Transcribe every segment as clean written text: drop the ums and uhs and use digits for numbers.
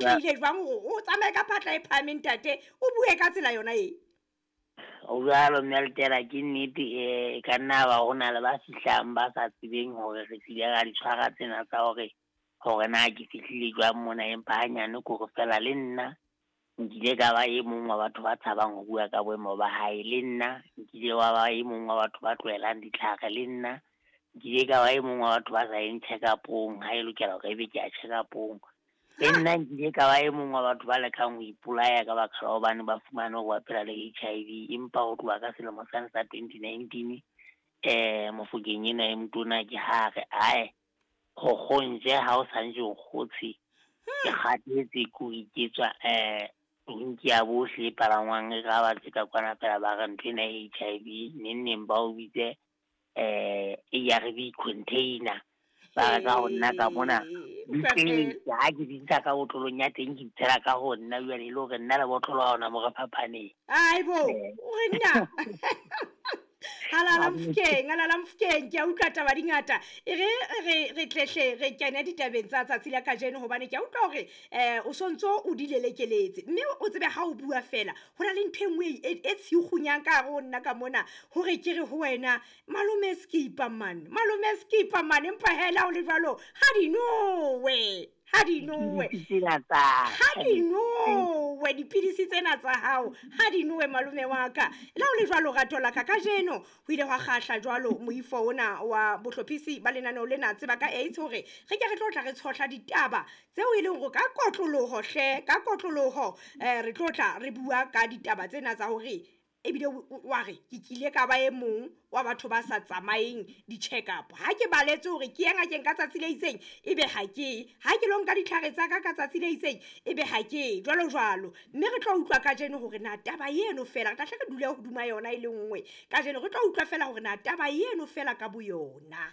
Tlile jwang hore o tsamaye ka phatla e phahameng, ntate, o bue ka tsela yona e? O jwalo, mme Letela, ke nnete. E ka nna ba ho na le ba fihlang ba sa tsebeng hore re hlile ra di tshwara tsena tsa hore na ke fihlile jwang mona, empa hanyane ke hore fela le nna nkile ka ba e mong wa batho ba tshabang ho bua ka boemo ba hae. Le nna nkile wa ba e mong wa batho ba tlohelang ditlhare. Le nna nkile ka ba e mong wa batho ba sa yeng check-upong ha e lokela hore ebe ke ya check-upong. Le nna nkile ka ba e mong wa batho ba lekang ho ipolaya ka baka la hobane ba fumane hore ba phela le HIV. Empa ho tloha ka selemo sane sa 2019, Mofokeng ena e motona ke ha re ae go kgontse ha o santse o kgotshe, ke kgathetse ke ho iketswa tonki ya bohle e palangwang e ka ba tse ka kwana fela ba re ntho ena ya HIV, neng neng ba o bitse ARV container, ba re ka ho nna ka mona di tletse. Ha ke di ntsha ka botlolong ya teng, ke di tshela ka ho nna jwale, e le hore nna le botlolo ha ona mo re phapaneng. Aibo, o re nna halala Mofokeng, halala Mofokeng. Ke a utlwa taba di ngata. E re re tlehle re kene ditabeng tsa tsatsi la kajeno, hobane ke a utlwa hore o sontso o di lelekeletse, mme o tsebe ha o bua fela ho na le ntho e nngwe e tshikgunyang ka hare ho nna ka mona, hore ke re ho wena, malome Skipa man, malome Skipa man. Empa hela o le jwalo, ha di nowe, ha di nowe, ha di nowe dipidisi tsena tsa hao, ha di nowe, malome wa ka. Le ha o le jwalo, rato la ka, kajeno ho ile hwa kgahla jwalo moifo ona wa bohlophisi ba lenaneo lena Tseba ka AIDS hore re ke re tlo tla re tshohla ditaba tseo e leng hore ka kotloloho hle, ka kotloloho re tlo tla re bua ka ditaba tsena tsa hore ebile wa re ke kile ka ba e mong wa batho ba sa tsamayeng di-check-up. Ha ke baletse hore ke ye ngakeng ka tsatsi le itseng, ebe ha ke ha ke lo nka ditlhare tsa ka ka tsatsi le itseng, ebe ha ke jwalo jwalo. Mme re tlo utlwa kajeno hore na taba eno fela, re tla hle re dule hodima yona e le nngwe kajeno. Re tlo utlwa fela hore na taba eno fela ka boyona,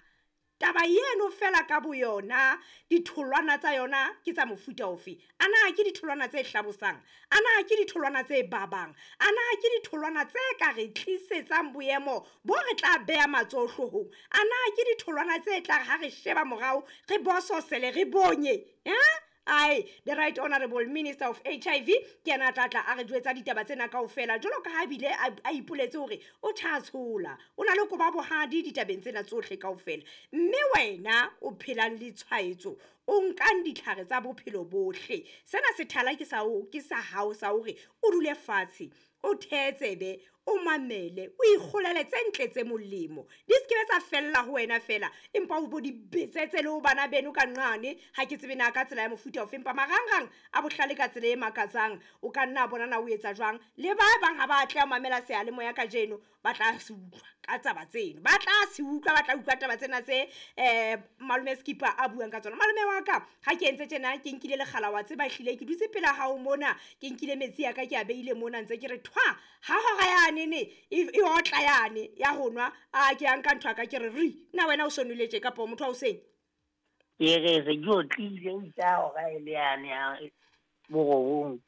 taba eno fela ka boyona, ditholwana tsa yona ke tsa mofuta ofe? A na ke ditholwana tse hlabosang? A na ke ditholwana tse babang? A na ke ditholwana tse ka re tlisetsang boemo bo re tla beha matsoho hloohong? A na ke ditholwana tse tla re ha re sheba morao re bososele, re bonye? Ai, the Right Honorable Minister of HIV ke yena a tla tla a re jwetsa ditaba tsena kaofela, jwalo ka ha bile a ipoletse hore o tjha tshola, o na le koba bohadi ditabeng tsena tsohle kaofela. Mme wena o phelang le tshwaetso, o nkang ditlhare tsa bophelo bohle, sena sethala ke sa o, ke sa hao sa hore o dule fatshe, o theetsebe, o mamele, o ikgolele tse ntle tse molemo. Di se ke be tsa fella ho wena fela, empa o bo di betsetse le ho bana beno ka nqane. Ha ke tsebe na ka tsela ya mofuta ofe, empa marangrang a bohlale ka tsela e makatsang, o ka nna bona na o etsa jwang. Le ba bang ha ba atleha ho mamela seyalemoya kajeno, ba tla se utlwa ka taba tseno, ba tla se utlwa, ba tla utlwa taba tsena tse malome Skipa a buang ka tsona. Malome wa ka, ha ke entse tjena, ke nkile lekgala, wa tseba ehlile ke dutse pela hao mona, ke nkile metsi a ka, ke a beile mona, ntse ke re thwa ha hora yane ne e otla yane ya ho nwa, a ke a nka ntho ya ka, ke re ri na wena o so nwele tje, kapa motho wa hoseng? Ke re se ke otlile itse hora e le yane ya borobong.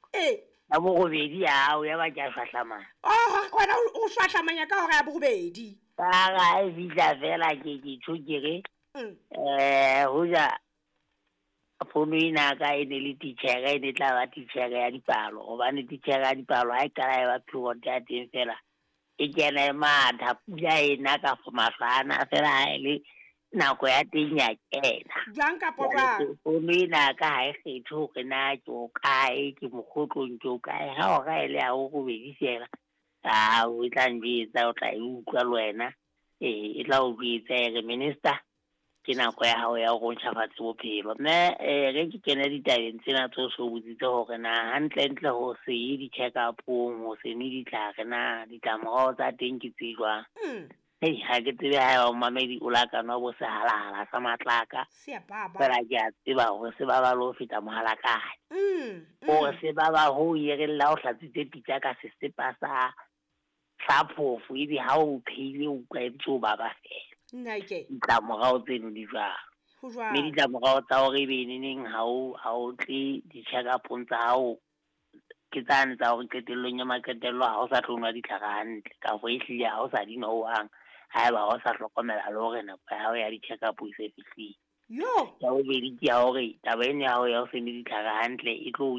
Ya borobedi ya hao, ya ba ke a shwahlamanya. Oh, wena o shwahlamanya ka hora ya borobedi. Ka ra e fihla fela ke tjho ke re, hoja fono ena ka e ne le titjhere, e ne tla ba titjhere ya dipalo, hobane titjhere ya dipalo ha e qala e ba period ya teng fela, e kena e matha, pula e na ka mahlwana fela ha e le nako ya teng ya kena. Jwang kapa jwang? Fono ena ka ha e kgethe hore na ke o kae, ke mokgotlong, ke o kae. Ha hora e le ya borobedi fela, o tla njwetsa, o tla e utlwa le wena. E tla o jwetsa e re, minister, ke nako ya hao ya hore o ntjhafatse bophelo. Mme re ke kene ditabeng tsena tse o so botsitse hore na hantlentle ho se ye di-check-up-ong, ho se nwe ditlhare, na ditlamorao tsa teng ke tse jwang? Hei, ha ke tsebe ha eba momamedi o la ka nwa bo sehalahala sa matlaka. Se a baba. Fela ke a tseba hore se baba le ho feta mohalakane. Hore se baba hoo e reng la o hlatswitse pitsa ka sesepa sa phofo, ebe ha o phehile o utlwa e ntse o baba fela. Nnake. Ditlamorao tseno di jwalo. Ho jwalo. Mme ditlamorao tsa hore ebe neneng ha o tle di-check-up-ong tsa hao, ke tsane tsa hore qetellong ya maqetello ha o sa tlo nwa ditlhare hantle, kafo ehlile ha o sa di nwa hohang, haeba ha o sa hlokomela le hore nako ya hao ya di-check-up e se fihlile. Yo. Ya bobedi ke ya hore taba eno ya hao ya ho se nwe ditlhare hantle e tlo o